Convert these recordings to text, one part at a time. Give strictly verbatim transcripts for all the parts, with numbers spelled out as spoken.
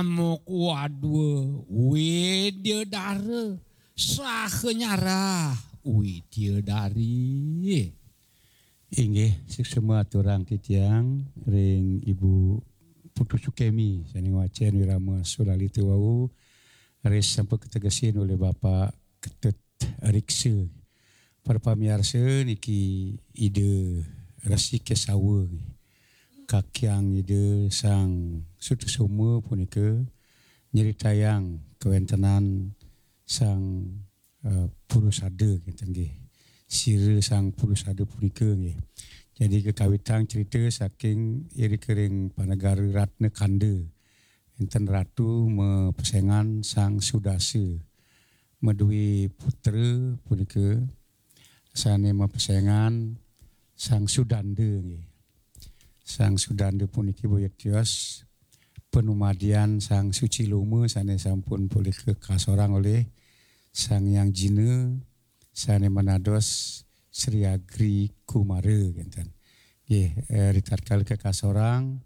Mok wadwa Widyadara, saha nyarah Widyadari. Inggih, suksma aturang titiang ring Ibu Putu Sukemi, sané ngwacén Wirama Sulalita wau, raris sampun kategesin olih Bapak Ketut Riksa. Para pamiarsa, niki Ida Resi Kesawa, kakiang Ida Sang Sutasoma punika, nyritayang kawéntenan Sang, eh, Purusada, ngéten nggih. Sira Sang Purusada punika nggih. Jadi, kakawitang crita saking irika ring panegara Ratna Kanda. Énten ratu mapesengan Sang Sudasa. Madué putra punika sané mapesengan Sang Sudanda nggih. Sang Sudanda puniki boya tios panumadian Sang Suciloma sané sampun polih kakasorang olih Sang Hyang Jina sané manados Sri Agri Kumara, ngénten. Nggih, eh, ritatkala kakasorang,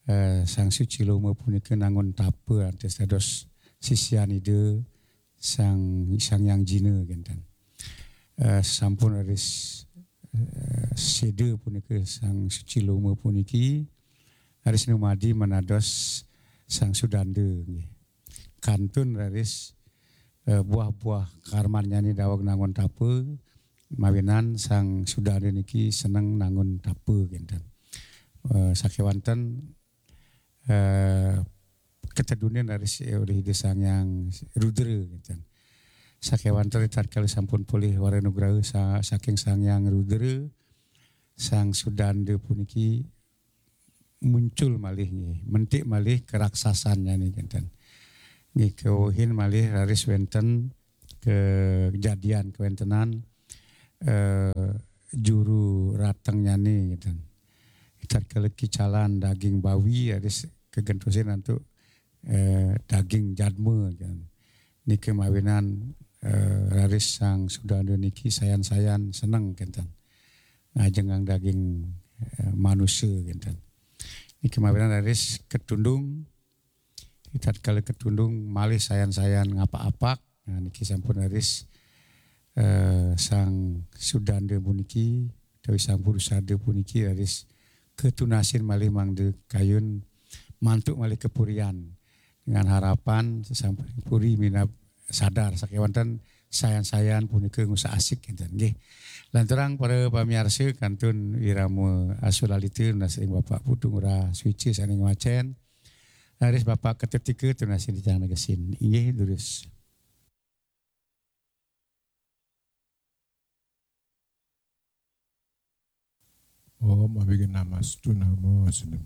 eh, Sang Suciloma punika nangun tapa antes dados sisian Ida Sang, Sang Hyang Jina, ngénten. Eh, sampun raris, eh, séda punika Sang Suciloma puniki, raris numadi manados Sang Sudanda nggih. Kantun raris, eh, buah-buah karmannyané daweg nangun tapa, mawinan Sang Sudanda niki seneng nangun tapa, ngénten. Eh, sakéwanten, eh, katedunin raris olih Ida Sang Hyang Rudra, ngénten. Sakéwanten ritatkala sampun polih wara nugraha sa-, saking Sang Hyang Rudra, Sang Sudanda puniki muncul malih nggih, mentik malih keraksasannyané, ngénten. Nggih, kawehin malih raris wénten kejadian kawéntenan, eh, juru ratengnyané, ngénten. Tatkala kicalan daging bawi raris kagentosin antuk, eh, daging jadma, kan. Nika mawinan, eh, raris Sang Sudanda niki sayan-sayan seneng, ngénten. Ngajengang daging, eh, manusa, ngénten. Nika mawinan raris katundung, tatkala katundung malih sayan-sayan ngapak-apak. Nah, niki sampun raris, eh, Sang Sudanda puniki, utawi Sang Purusada puniki raris katunasin malih mangda kayun mantuk malih kapurian. Dengan harapan sasampun puri minab sadar sakéwanten sayan-sayan punika ngusah asik, ngénten nggih. Lanturang para pamiarsa, kantun Wirama Asulalita nunas ring Bapak Putu Ngurah Suica sané ngwacén. Raris Bapak Ketut Riksa tunasin titiang negesin. Inggih, durus. Om Abhigyanamastu Namo Siddham.